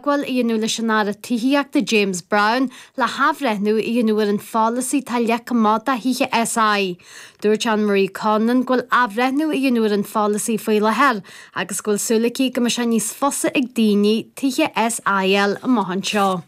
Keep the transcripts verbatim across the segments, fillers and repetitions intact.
teagmháil a dhéanamh leis an Aire Tithíochta James Browne le hathbhreithniú a dhéanamh ar an pholasaí atá leagtha amach do thithe SI. Dúirt Anne Marie Conlon go bhfuil athbhreithniú á dhéanamh ar an pholasaí faoi láthair agus go bhfuil súil aici go mbeidh sé níos fusa ag daoine tithe SI a fháil amach anseo.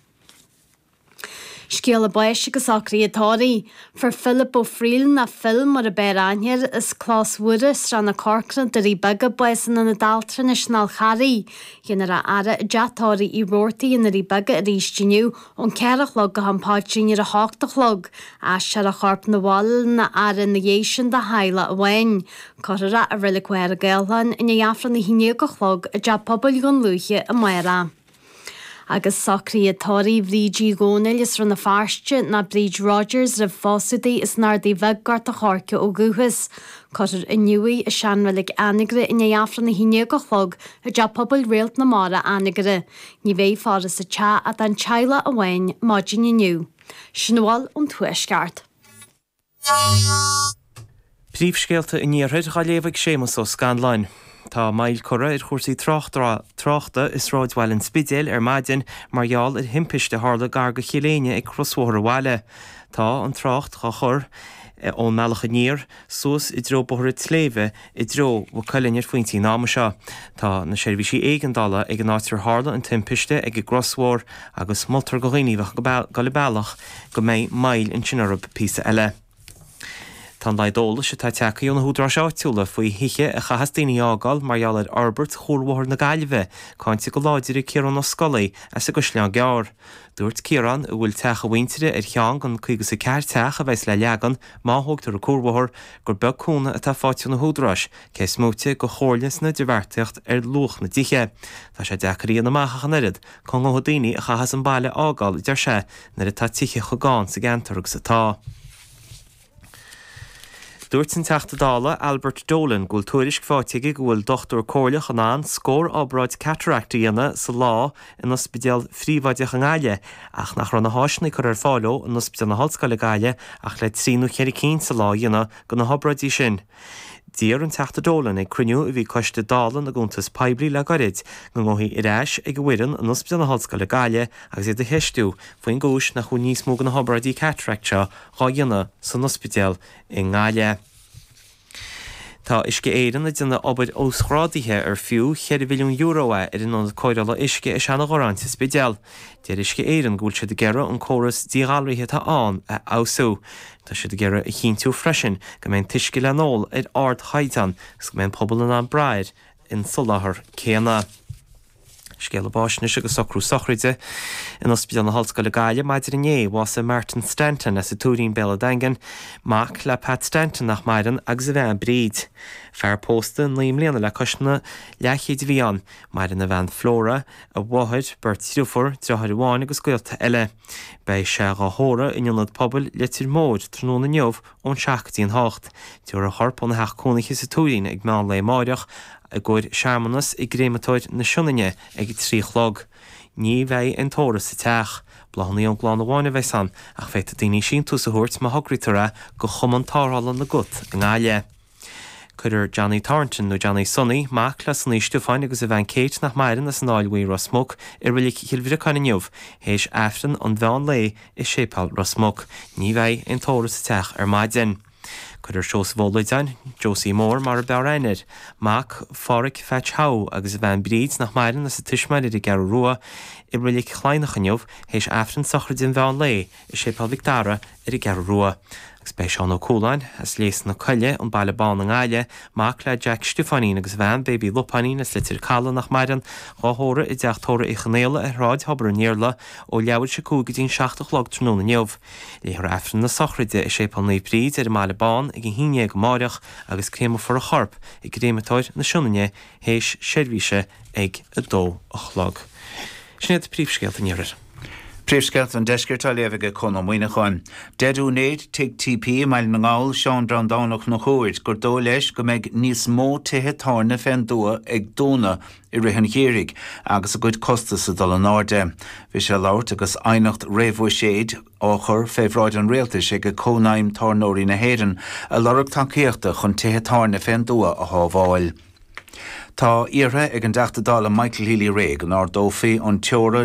Scéala báis agus socruithe tórraimh. Fuair Philip Ó Frighil nó Phil mar ab fhearr aithne air as Clós Mhuire, Srath na Corcra, Doirí Beaga, bás in Ionad Altranais an Fháil Charraigh. Dhéanfar a fhaire i dteach tórraimh Uí Robhartaigh i nDoirí Beaga arís inniu ón ceathair a chlog go ham paidrín ar a hocht a chlog. Aistreofar a chorp 'na bhaile lena fhaire ina dhiaidh sin do theaghlach amháin. Cuirfear é i Reilig Mhachaire Gathlán i ndiaidh Aifreann a haon déag a chlog i dteach pobail Dhún Lúiche amárach. Agus socruithe tórraimh Bhríd Uí Dhónaill as Rann na Feirste nó Bríd Rogers roimh phósadh di as an Ardaidh Bheag Gort a' Choirce ó dhúchas. Cuirfear inniu í i seanreilig Anagaire i ndiaidh Aifreann a haon déag a chlog i dteach pobail Réalt na Mara Anagaire. Ní bheidh faire sa teach ach don teaghlach amháin maidin inniu. Sin a bhfuil ón Tuaisceart. Príomhscéalta an Iarthair á léamh ag Séamus Ó Scanláin. Tá moill curtha ar chúrsaí tráchta i sráidbhaile an Spidéil ar maidin mar gheall ar thimpiste a tharla gar go Chill Éinne ag crosbhóthar an bhaile. Tá an trácht á chur ón mbealach aniar suas i dtreo Bóthar an tSléibhe i dtreo Mhaigh Cuilinn ar phointí an ama seo. Tá na seirbhísí éigeandála ag an áit ar tharla an timpiste ag an gcrosbhóthar agus moltar do dhaoine a bheadh ag dul an bealach go mbeidh moill ansin orthu píosa eile. Tá an laghad eolais atá tagtha ó na húdaráis áitiúla faoi thithe a chaithfeas daoine a fhágáil mar gheall ar fhorbairt Chuarbhóthar na Gaillimhe cáinte go láidir ag Ciarán Ó Scolaí as an gCaisleán Gearr. Dúirt Ciarán, a bhfuil teach a mhuintire ar cheann den caoga is a ceathair teach a bheas le leagan má thógtar an cuarbhóthar, gur beag cúnamh atá faighte ó na húdaráis, cé is móite de chomhairle san idirbheartaíocht ar luach na dtithe. Tá sé deacair a dhéanamh amach ach an oiread cá ngabhfaidh daoine a chaithfeas an baile a fhágáil, a deir sé, nuair atá tithe chomh gann sa gceantar agus atá. Dúirt an Teachta Dála Albert Dolan go bhfuil tuairisc faighte aige go bhfuil dochtúir comhairleach in ann scór obráid cataract a dhéanamh sa lá in ospidéal phríobháideach i nGaillimh ach nach raibh na háiseanna curtha ar fáil leo in Ospidéal na hOllscoile Gaillimh ach le trí nó ceithre cinn sa lá a dhéanamh de na hobráidí sin. D'iarr an Teachta Dolan ag cruinniú a bhí Coiste Dála na gCuntas Poiblí le gairid go ngabhfaí ar ais ag an bhfoireann in Ospidéal na hOllscoile Gaillimh agus iad a cheistiú faoin gcúis nach bhfuil níos mó de na hobráidí cataract seo dhá dhéanamh san ospidéal i nGaillimh. Tá Uisce Éireann ag déanamh obair uasghrádaithe ar fiú cheithre mhilliún euro é ar an ionad cóireála uisce i Seanadh-Ghorráin sa Spidéal. Deir Uisce Éireann go bhfuil siad ag iarraidh an córas díghalraithe atá ann a fheabhsú. Tá siad ag iarraidh a chinntiú freisin go mbeidh an t-uisce le n-ól ar ardchaighdeán agus go mbeidh an pobal in ann brath ar an soláthar céanna. Scéala báis anois agus socrú sochraide in Ospidéal na hOllscoile Gaillimh maidin inné, bhásaigh Martin Stanton as an Tuairín Béal an Daingin, mac le Pat Stanton nach maireann agus a bhean Bríd. Fear pósta naoi mbliana le cois na leathchéid a bhí ann. Maireann a bhean Flora, a mháthair, beirt dhriofúr, deartháir amháin agus gaolta eile. Beidh sé dhá thórramh in Ionad Pobail Leitir Móir tráthnóna inniu ón seacht go dtí an hocht. Tabharfar a chorp óna theach cónaithe sa Tuairín ag meán lae amáireach i gcomhair searmanas i gcréamatóir na Sionainne ag a trí a chlog. Ní bheidh aon tórramh sa teach. Bláthanna ón gclann amháin a bheas ann, ach féadfaidh daoine síntiús a thabhairt má thograítear é go Chumann Tarrthála na gCat i nGaillimh. Cuirfear Johnny Thornton nó Johnny Sonny, mac le Sonaí Stiofáin agus a bhean Kate nach maireann as an Fháil Bhuí Ros Muc, i Reilig Chill Bhriocáin inniu, théis Aifreann an mheán lae i Séipéal Ros Muc. Ní bheidh aon tórramh sa teach ar maidin. Cuirfear Seosamh Ó Loideáin, Josie Mór mar a b'fhearr aithne air, mac Pháraic Phatch Howe agus a bhean Bríd nach maireann as a tuismitheoirí ar an gCeathrú Rua, i Reilig Chladhnach inniu, théis Aifreann sochraide an mheán lae i Séipéal Mhic Dara ar an gCeathrú Rua. Agus beidh Seán Ó Cualáin, as Léas na Coille, an Baile Bán i nGaillimh, mac le Jack Stiofáinín agus a bhean Baby Lupáinín as Leitir Caladh nach maireann, dhá thórramh i dteach tórraimh Uí Chonaola ar Shráid Thobar an Iarla ó leathuair tar éis a cúig go dtí an seacht a chlog tráthnóna inniu. Léifear Aifreann na sochraide i Séipéal Naomh Bríd ar an mBaile Bán ag a haon déag amáireach agus créamfar a chorp i gcréamatóir na Sionainne théis seirbhíse ag a dó a chlog. Sin iad príomhscéalta an Iarthair. Príomhscéalta an Deiscirt á léamh aige Conn Ó Muíneacháin. Deir úinéir Tigh TP i mBaile na nGall, Seán Breandán Ó Conchúir, gur dóigh leis go mbeidh níos mó tithe tábhairne fén dtuath ag dúnadh i rith an gheimhridh agus a gcuid costas ag dul in airde. Bhí sé ag labhairt agus aighneacht réamhbhuiséid á chur fé bhráid an rialtais ag Cónaidhm Tábhairneoirí na hÉireann ag lorg tacaíochta chun tithe tábhairne fén dtuath a shábháil. Tá iarrtha ag an dTeachta Dála Michael Healy-Rae go n-ardófaí an teora